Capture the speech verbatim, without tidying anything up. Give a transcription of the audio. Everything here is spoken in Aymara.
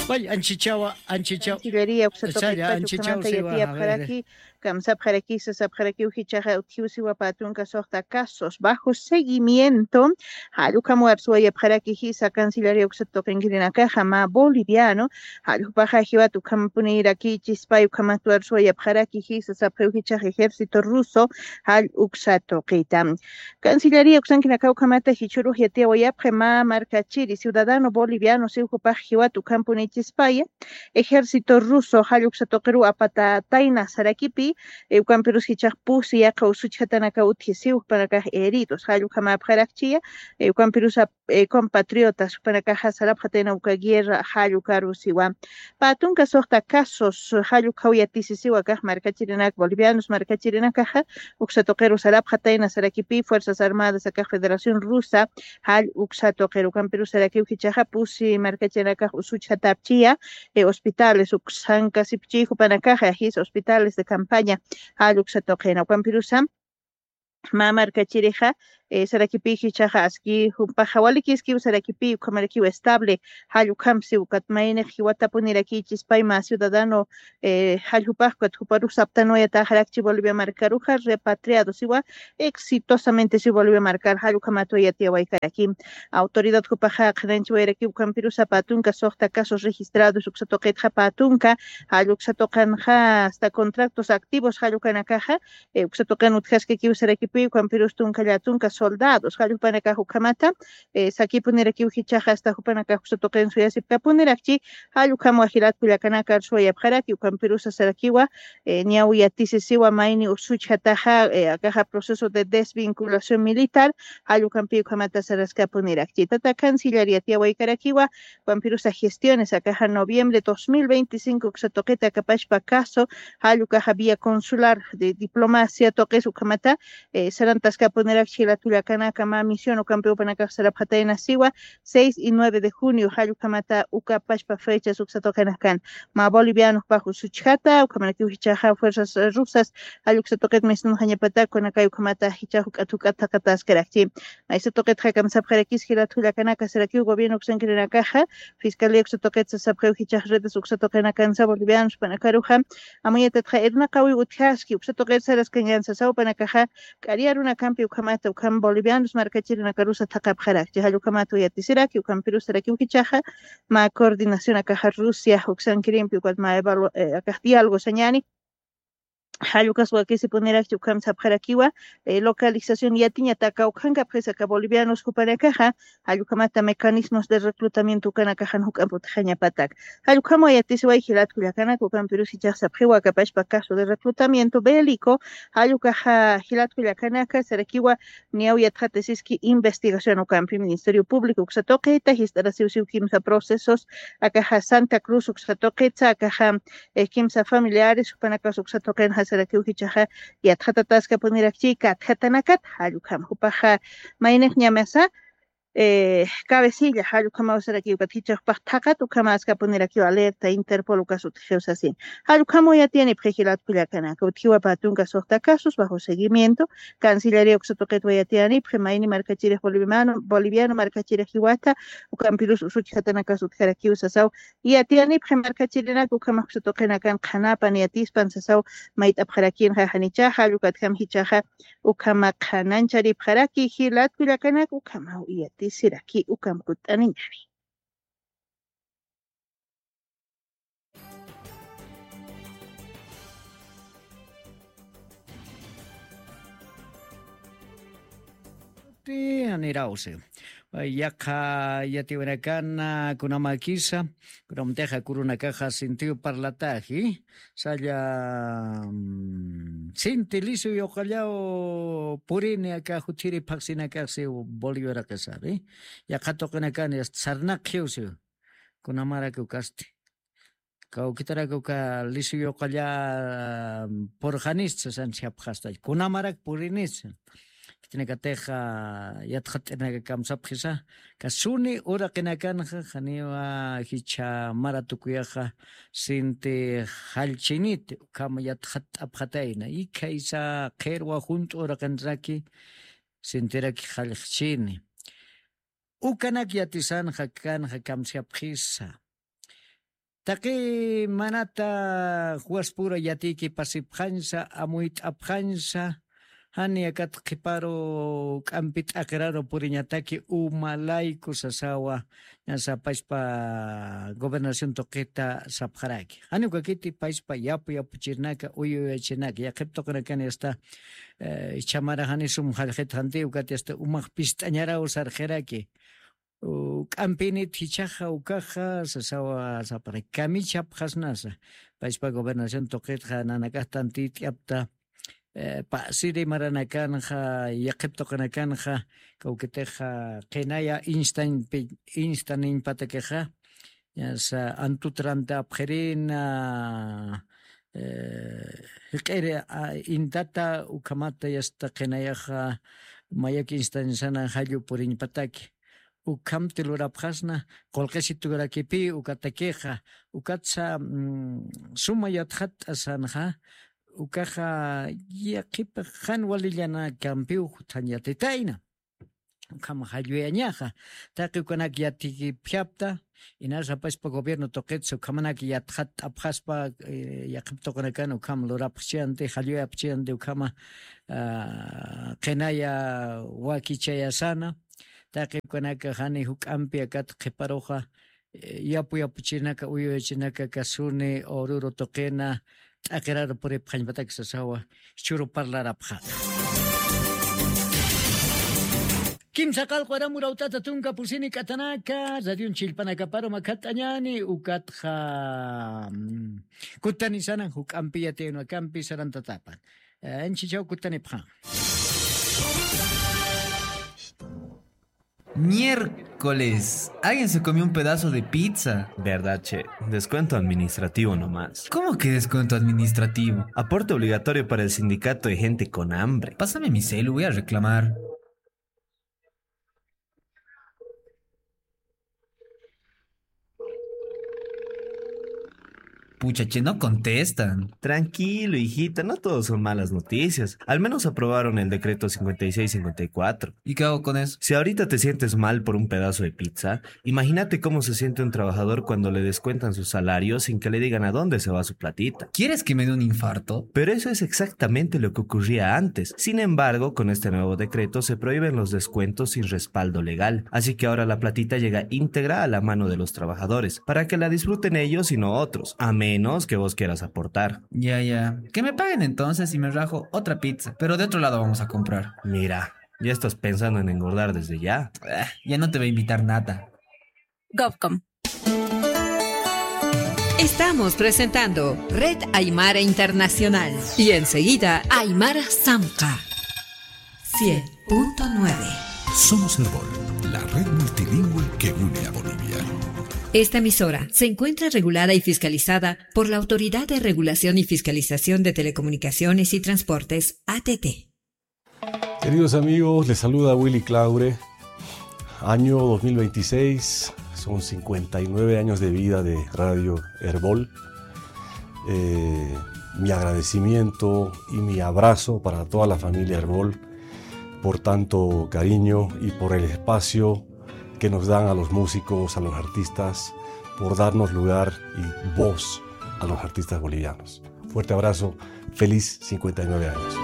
Wal, anchichawa, anchichaw. Cancillería uksa tuqitpacha ukhamanta yatiyapxaraki, kamsapxaraki, sasapxarakiw jichhaxa utjiw siwa pä tunka suxta casos bajo seguimiento, jall ukham arsuwayapxaraki jisa Cancillería uksa tuqinkirinakaxa mä boliviano, jall jupaxa jiwat ukhampunirakïchispay ukhamat arsuwayapxaraki jisa sapxiw jichhaxa ejército ruso, jall uksa tuqita. Cancillería uksankinakaw ukhamata jichhürux yatiyawayapxi mä markachiri ciudadano boliviano siw jupax jiwat ukhampunichispaya, ejército ruso jall uksa tuqiruw apatätayna sarakipï, eh, ukampirus jichhax pusi yaqha usuchjatanakaw utji siw jupanakax heridos, jall ukhamäpxarakchiya, eh, ukampirusa, eh, compatriotas jupanakaxa sarapxatayna uka guerra jall ukaruw siwa. Pä tunka suxta casos jall ukhaw yatisisiwa akax markachirinak bolivianos markachirinakaxa, uksa tuqiruw sarapxatayna sarakipï Fuerzas Armadas akax Federación Rusa, jall uksa tuqiruw ukampirus sarakiw jichhaxa pusi markachirinakax usuchjatapchiya, eh, hospitales uksankasipchi jupanakaxa, jisa hospitales de campaña, jall uksa tuqina, ukampirusa mä markachirixa, eh, sarakipï jichhaxa aski jupaxa walikiskiw sarakipï, ukhamarakiw estable, jall ukham siw ukat maynix jiwatapunirakichispay mä ciudadano, eh, jall jupax ukat juparux saptanwayatäxarakchi Bolivia markaruxa, repatriado siwa, exitosamente siw Bolivia markar, jall ukhamatwa yatiyawaykaraki. Autoridad jupaxa qhanañchawayarakiw ukampirusa pä tunka suxta casos registrados uksa tuqitxa pä tunka, jall uksa tuqinxa hasta contratos activos jall ukanakaxa, eh, uksa tuqin utjaskakiw sarakipï, ukampirus tunka llätunka soldados, jall jupanakax ukhamata, eh, sakipunirakiw jichhaxa hasta jupanakax uksa tuqin suyasipkapunirakchi, jall ukhamwa jilat kullakanaka arsuwayapxaraki, ukampirusa sarakiwa, eh, niyaw yatisisiwa mayni usuchjataxa, eh, akaxa proceso de desvinculación militar, jall ukampï ukhamata saraskapunirakchi. Tata canciller yatiyawaykarakiwa, ukampirusa gestiones akaxa noviembre dos mil veinticinco uksa tuqita akapachpa caso, jall ukaxa vía consular de diplomacia tuqis ukhamata, eh, sarantaskapunirakchi jilat kullakanaka mä misión ukampi jupanakax sarapxatayna siwa, seis y nueve de junio, jall ukhamata ukapachpa fechas uksa tuqinakan. Mä boliviano jupax usuchjata, ukhamarakiw jichhaxa fuerzas, eh, rusas, jall uksa tuqit mistunxañapatak, kunakay ukhamata jichhax juk'at juk'at thaqataskarakchi. Maysa tuqitxa kamsapxarakis jilat kullakanaka sarakiw gobierno uksankirinakaxa, fiscalía uksa tuqit sasapxiw jichhax redes uksa tuqinakansa bolivianos jupanakaruxa, amuyatatxa irnaqawiw utjaski, uksa tuqit saraskankansa sasaw jupanakaxa, k'ari arunakampi ukhamata, ukham bolivianos markachirinakarusa thaqapxarakchi, jall ukhamatwa yatisiraki, ukampirus sarakiw jichhaxa, mä coordinación akaxa Rusia uksankirimpi, ukat mä evalu-, eh, akax diálogo sañäni, jall ukas wakisipunirakchi ukham sapxarakiwa, eh, localización yatiñataka ukhankapxisa aka bolivianos jupanakaxa, jall ukhamata mecanismos de reclutamiento ukanakaxan juk'amp utjañapatak. Jall ukhamwa yatisiway jilat kullakanaka, ukampirus jichhax sapxiwa akapachpa caso de reclutamiento bélico, jall ukaxa jilat kullakanaka sarakiwa niyaw yatxatasiski investigación ukampi Ministerio Público uksa tuqita, jist'arasiw siw kimsa procesos, akaxa Santa Cruz uksa tuqitsa, akaxa eh, kimsa familiares, jupanakas uksa tuqinxa sarakiw jichhaxa yatxatataskapunirakchi katjatanakat, jall ukham jupaxa maynix ñamasa, eh, cabecilla, jall ukhamaw sarakiw ukat jichhax jupax thaqat ukhamaskapunirakïw alerta, Interpol ukas utjiw sasin. Jall ukhamaw yatiyanipxi jilat kullakanaka, utjiwa pä tunka suxta casos bajo seguimiento, Cancillería uksa tuqitwa yatiyanipxi, mayni markachirix boliviano, boliviano markachirix jiwata, ukampirus usuchjatanakas utjarakiw sasaw, yatiyanipxi markachirinaka ukhamax uksa tuqinakan qhanapan yatispan sasaw, mayt'apxarakinxa janichaxa, jall ukatjam jichhaxa, ukhama qhanañcharipxaraki jilat kullakanaka, ukhamaw yatisiraki, ukham kutt'aniñäni. Anirawsi. Yaqha yatiwinakana kunamakisa, kunamtixa kurunakaxa sintiw parlataji, salla, mm, sinti lisu yuqallaw purini aka juthiri phaxsinakaxsi Bolivia uraqisari. Yaqha tuqinakani sarnaqjiwsi, kunamarak ukasti. Kawkitarak uka lisu yuqalla purxanista, sansiyapxasta. Kunamarak purinista. Khitinakatix, ah, yatxatt'irinaka kamsapxisa. Kasuni uraqinakanxa, janiwa jichha mara tukuyaxa, sinti jallchiniti, ukham yatxatt'apxatayna. Ikhaysa qhirwa junt'u uraqinraki, sintiraki jallxchini. Ukanak yatisanxa kanxa kamsiyapxisa. Taqi manata juwaspura yatiyki pasipxañsa, amuyt'apxañsa, jani akat qhiparu k'ampi t'aqiraru puriñataki uma layku sasawa, ñasa payspa gobernación tuqita sapxaraki. Jani ukakiti payspa yapu yapuchirnaka, uyu uyachirnaka, yaqhip tuqinakan yasta, eh, chhamara jani sum jallqhit janti, ukati yasta umax pist'añaraw sarqiraki. U, k'ampinit jichhaxa ukaxa, sasawa sapxaraki, kamichhapxasnasa. Payspa gobernación tuqitxa nanakax tantit'yapta, eh, pasiri maranakanxa, yaqhip tuqinakanxa, kawkitixa qinaya instañpi-, instaniñpatakixa, ñasa antut ranta apxirina, eh, jiq'iri, a, intata ukhamata yasta qinayaxa mayak instañsana jallu puriñpataki. Ukhamti lurapxasna, qullqisiturakipi ukatakixa, ukatsa, mm, suma yatxatt'asanxa, ukaxa yaqhipax jan walillanakampiw juthañ yatitayna. Ukham jalluyañaxa, taqi ukanak yatikipjapta, inasa payspa gobierno tuqitsa ukhamanak yatxatt'apxaspa, eh, yaqhip tuqinakan ukham lurapxchiyanti, jalluyapxchiyanti ukhama, ah, qinaya wakichayasana, taqi ukanaka jani juk'ampi akat qhiparuxa, eh, yapu yapuchinaka, uyuyachinaka kasuni, ururu tuqina, t'aqiraru puripxañpatak sasawa, churu parlarapxata. Kimsa qallqu aram urawt'ata tunka pusini k'atanaka, radion chillpanakaparu makhat'añani, ukatxa, mm, kutanisanan juk'ampi yatiyunakampi sarantatapan. Eh, anchichaw kutanipxan. Miércoles. Alguien se comió un pedazo de pizza. ¿Verdad, che? Descuento administrativo nomás. ¿Cómo que descuento administrativo? Aporte obligatorio para el sindicato de gente con hambre. Pásame mi celu, voy a reclamar. Pucha, che, no contestan. Tranquilo, hijita, no todo son malas noticias. Al menos aprobaron el decreto cincuenta y seis cincuenta y cuatro. ¿Y qué hago con eso? Si ahorita te sientes mal por un pedazo de pizza, imagínate cómo se siente un trabajador cuando le descuentan su salario sin que le digan a dónde se va su platita. ¿Quieres que me dé un infarto? Pero eso es exactamente lo que ocurría antes. Sin embargo, con este nuevo decreto se prohíben los descuentos sin respaldo legal. Así que ahora la platita llega íntegra a la mano de los trabajadores, para que la disfruten ellos y no otros, a menos que vos quieras aportar. Ya, ya. Que me paguen entonces y me rajo otra pizza, pero de otro lado vamos a comprar. Mira, ya estás pensando en engordar desde ya. Ah, ya no te voy a invitar nada. Govcom. Estamos presentando Red Aymara Internacional y enseguida Aymara Samca cien punto nueve. Somos Erbol, la red multilingüe que une a Bolivia. Esta emisora se encuentra regulada y fiscalizada por la Autoridad de Regulación y Fiscalización de Telecomunicaciones y Transportes, A T T. Queridos amigos, les saluda Willy Claure. Año dos mil veintiséis, son cincuenta y nueve años de vida de Radio Erbol. Eh, mi agradecimiento y mi abrazo para toda la familia Erbol por tanto cariño y por el espacio que nos dan a los músicos, a los artistas, por darnos lugar y voz a los artistas bolivianos. Fuerte abrazo, feliz cincuenta y nueve años.